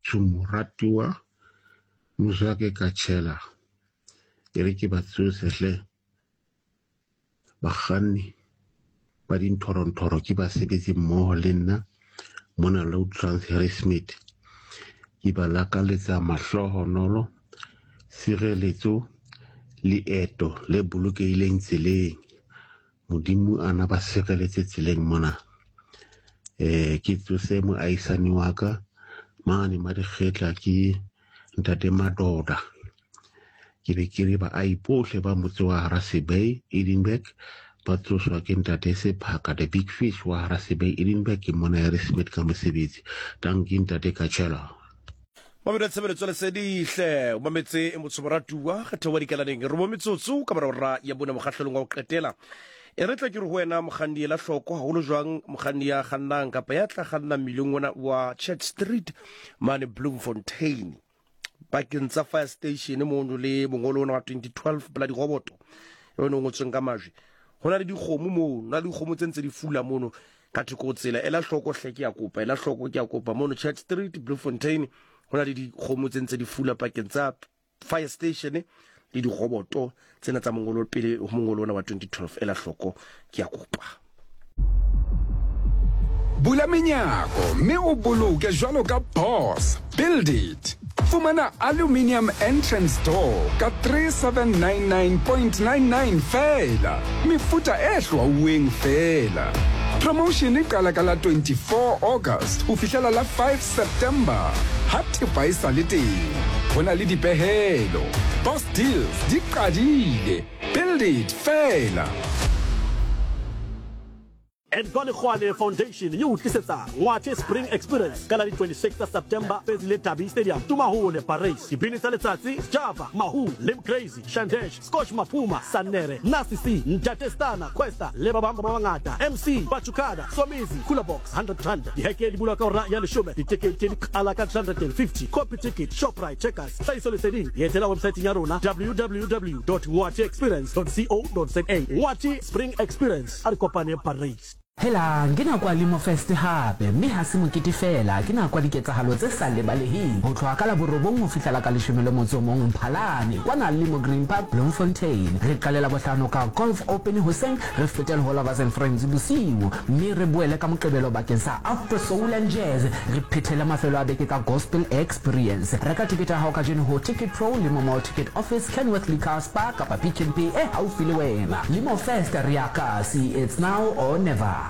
Motsho Moratuwa Mozwake Kachela. E re ke ba tsose hle bakganni ba dinthorontoro ke basebetsi mmoho le nna mona Low Trans Harrismith. Ke ba lakaletsa mahlohonolo, sireletso, leeto le bolokehileng tseleng. Modimo a na ba sireletse tseleng mona. Eh ke tsose moahisani wa ka mane Madikgetla ke ntate Madoda. Ke be ke re baahi bohle ba motse wa Harasebay Edinburgh ba tsoswa ke ntate Sephaka the big fish wa Harasebay Edinburgh ke mona Harrismith ka mosebetsi. Dankie ntate Kachela. Mamelo ya tshebeletso lesedihle o mametse e motsho moratuwa kgetho wa dikalaneng re mo metsotso ka mora ora ya bone mokgahlelong wa go qetela e re tla ke re ho wena mokganni ela hloko haholo jwang mokganni ya kgannang kapa ya tla kganna mmileng ona wa Church Street mane Bloemfontein pakeng tsa fire station mono le mongolo ona wa 2012 pela diroboto e o ngotsweng ka majwe ho na le dikgomo mono na le dikgomo tse ntse di fula mono Ka thoko ho tsela, ela hloko hle, ke a kopa, ela hloko, ke a kopa. Mono Church Street, Bloemfontein, ho na le dikgomo tse ntse di fula pakeng tsa fire station le diroboto tsena tsa mongolo pele ho mongolo ona wa 2012. Ela hloko, ke a kopa. Bula menyako mme o boloke jwalo ka boss. Build it. Fumana aluminium entrance door ka 3799.99 feela. Mefuta e hlwauweng feela. Promotion e qala ka la 24 August ho fihlela la 5 September. Ha thepa e sa le teng, ho na le dipehelo. Boss Deals di qadile. Build it feela. Edgar Lekgoane Foundation e o tlisetsa Ngwathe Spring Experience ka la di 26 tsa September Fezile Dabi Stadium, Tumahole, Parys. Dibini tsa letsatsi, Sjava, Mahu, Lim Crazy, Shandesh, Scotch Maphuma, Sannere, Nasty C, Ntate Stana, Questa le ba bang ba bangata. MC, Bachukada, Somizi, Cooler Box, 100 Rand. Diheke di bulwa ka hora ya leshome, ditekete di qala ka 350. Copy ticket, Shoprite, Checkers. Tlhahiso leseding, etela websaeteng ya rona www.ngwatheexperience.co.za. Ngwathe Spring Experience. A re kopane Parys. Helang, ke nako ya Limo Fest hape, mme ha se mokete feela, ke nako ya diketsahalo tse sa lebaleheng. Ho tloha ka la borobong ho fihla la ka leshome le motso o mong Mphalane, kwana Limo Green Park, Bloemfontein. Re qale Labohlano ka Golf Open hoseng, re fetele ho Lovers and Friends bosiu, mme re boele ka Moqebelo bakeng sa Afro Soul and Jazz, re phethele mafelo a beke ka Gospel Experience. Reka tekete ya hao kajeno ho Ticketpro, Limo Mall Ticket Office, Kenworth Liquor, Spar kapa Pick n Pay e haufi le wena. Limo Fest re ya kasi, it's now or never.